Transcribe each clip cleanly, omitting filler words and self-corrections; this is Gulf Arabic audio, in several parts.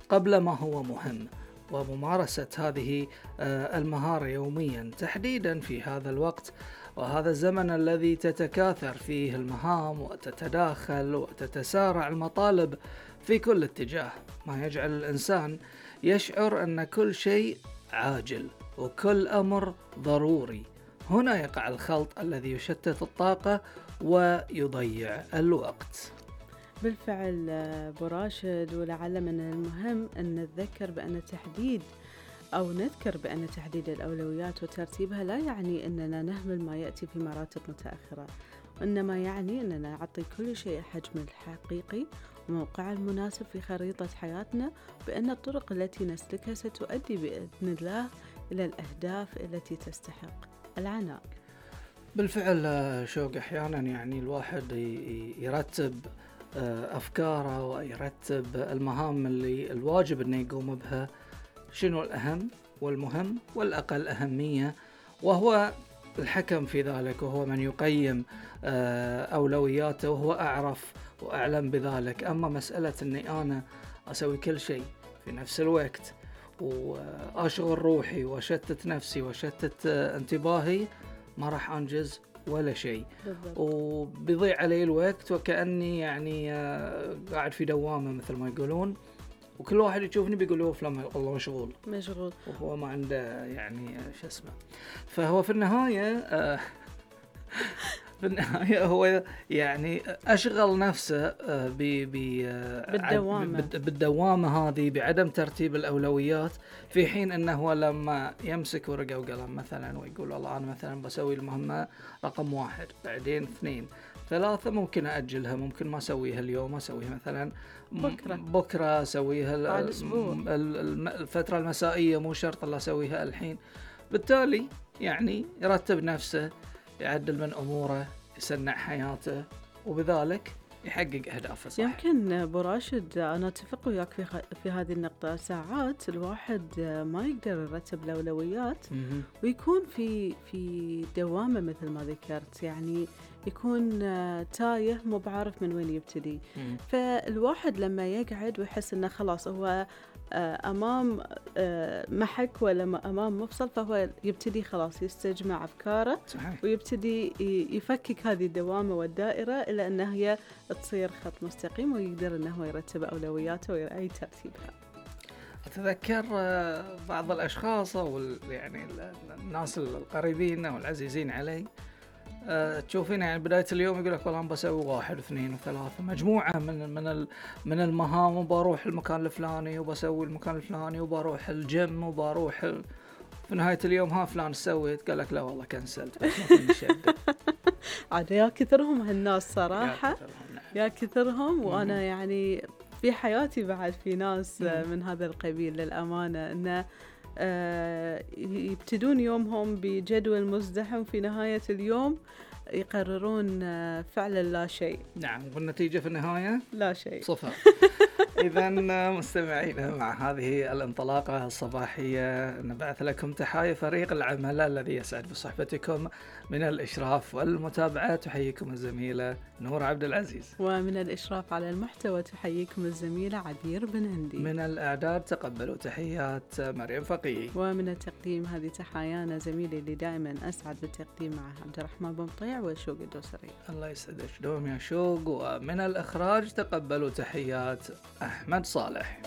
قبل ما هو مهم، وممارسة هذه المهارة يوميا تحديدا في هذا الوقت وهذا الزمن الذي تتكاثر فيه المهام وتتداخل وتتسارع المطالب في كل اتجاه، ما يجعل الإنسان يشعر أن كل شيء عاجل وكل أمر ضروري. هنا يقع الخلط الذي يشتت الطاقة ويضيع الوقت. بالفعل أبو راشد، ولعل من المهم أن نذكر نذكر بأن تحديد الأولويات وترتيبها لا يعني أننا نهمل ما يأتي في مراتب متأخرة، وإنما يعني أننا نعطي كل شيء حجمه الحقيقي وموقعه المناسب في خريطة حياتنا، بأن الطرق التي نسلكها ستؤدي بإذن الله إلى الأهداف التي تستحق العناء. بالفعل شوق أحيانا يعني الواحد يرتب أفكاره ويرتب المهام اللي الواجب أنه يقوم بها، شنو الأهم والمهم والأقل أهمية، وهو الحكم في ذلك، وهو من يقيم أولوياته، وهو أعرف وأعلم بذلك. أما مسألة أني أنا أسوي كل شيء في نفس الوقت وأشغل روحي وشتت نفسي وشتت انتباهي، ما راح أنجز ولا شيء، وبيضيع علي الوقت وكأني يعني قاعد في دوامة مثل ما يقولون، وكل واحد يشوفني بيقول له فلان والله مشغول وهو ما عنده يعني شو اسمه. فهو في النهاية هو يعني أشغل نفسه بالدوامة هذه بعدم ترتيب الأولويات، في حين أنه لما يمسك ورقة وقلم مثلا ويقول والله أنا مثلا بسوي المهمة رقم 1 بعدين 2 3 ممكن أأجلها، ممكن ما أسويها اليوم، أسويها مثلا بكرة أسويها الفترة المسائية، مو شرط الله أسويها الحين. بالتالي يعني يرتب نفسه، يعدل من أموره، يسنع حياته، وبذلك يحقق أهدافه صح. يمكن أبو راشد أنا أتفق وياك في هذه النقطة. ساعات الواحد ما يقدر يرتب الأولويات ويكون في دوامة مثل ما ذكرت، يعني يكون تايه مو بعارف من وين يبتدي. فالواحد لما يقعد ويحس إنه خلاص هو أمام محك ولا أمام مفصل، فهو يبتدي خلاص يستجمع أفكاره ويبتدي يفكك هذه الدوامة والدائرة إلى أنها هي تصير خط مستقيم، ويقدر أنه يرتب أولوياته ويرأي ترتيبها. أتذكر بعض الأشخاص يعني الناس القريبين والعزيزين علي، تشوفين يعني بداية اليوم يقول لك والله أنا بسوي 1 و2 و3 مجموعة من المهام، وبروح المكان الفلاني وبسوي المكان الفلاني وبروح الجيم وبروح في نهاية اليوم ها فلان سويت، قال لك لا والله كنسلت عاد يا كثرهم هالناس صراحة، يا كثرهم. وأنا يعني في حياتي بعد في ناس من هذا القبيل للأمانة، إنه يبتدون يومهم بجدول مزدحم، في نهاية اليوم يقررون فعلا لا شيء. نعم، والنتيجة في النهاية لا شيء، صفر. إذن مستمعين، مع هذه الانطلاقة الصباحية نبعث لكم تحايا فريق العمل الذي يسعد بصحبتكم. من الإشراف والمتابعة تحييكم الزميلة نور عبد العزيز، ومن الإشراف على المحتوى تحييكم الزميلة عبير بن هندي، من الإعداد تقبلوا تحيات مريم فقيه، ومن التقديم هذه تحايانا زميلي اللي دائما أسعد بالتقديم معه عبد الرحمن بن مطيع وشوق الدوسري. الله يسعدك دوم يا شوق. ومن الإخراج تقبلوا تحيات أحمد صالح.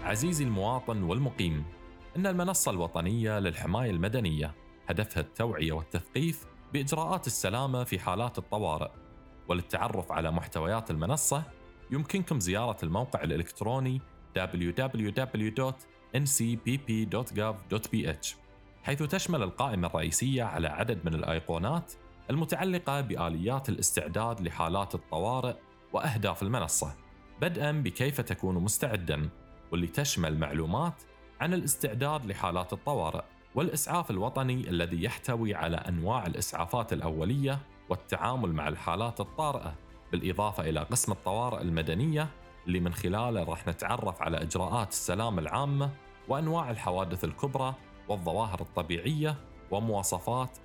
عزيزي المواطن والمقيم، إن المنصة الوطنية للحماية المدنية هدفها التوعية والتثقيف بإجراءات السلامة في حالات الطوارئ. وللتعرف على محتويات المنصة يمكنكم زيارة الموقع الإلكتروني www.ncpp.gov.bh، حيث تشمل القائمة الرئيسية على عدد من الأيقونات المتعلقة بآليات الاستعداد لحالات الطوارئ وأهداف المنصة، بدءاً بكيف تكون مستعداً، واللي تشمل معلومات عن الاستعداد لحالات الطوارئ والإسعاف الوطني الذي يحتوي على أنواع الإسعافات الأولية والتعامل مع الحالات الطارئة، بالإضافة إلى قسم الطوارئ المدنية اللي من خلاله راح نتعرف على إجراءات السلامة العامة وأنواع الحوادث الكبرى والظواهر الطبيعية ومواصفات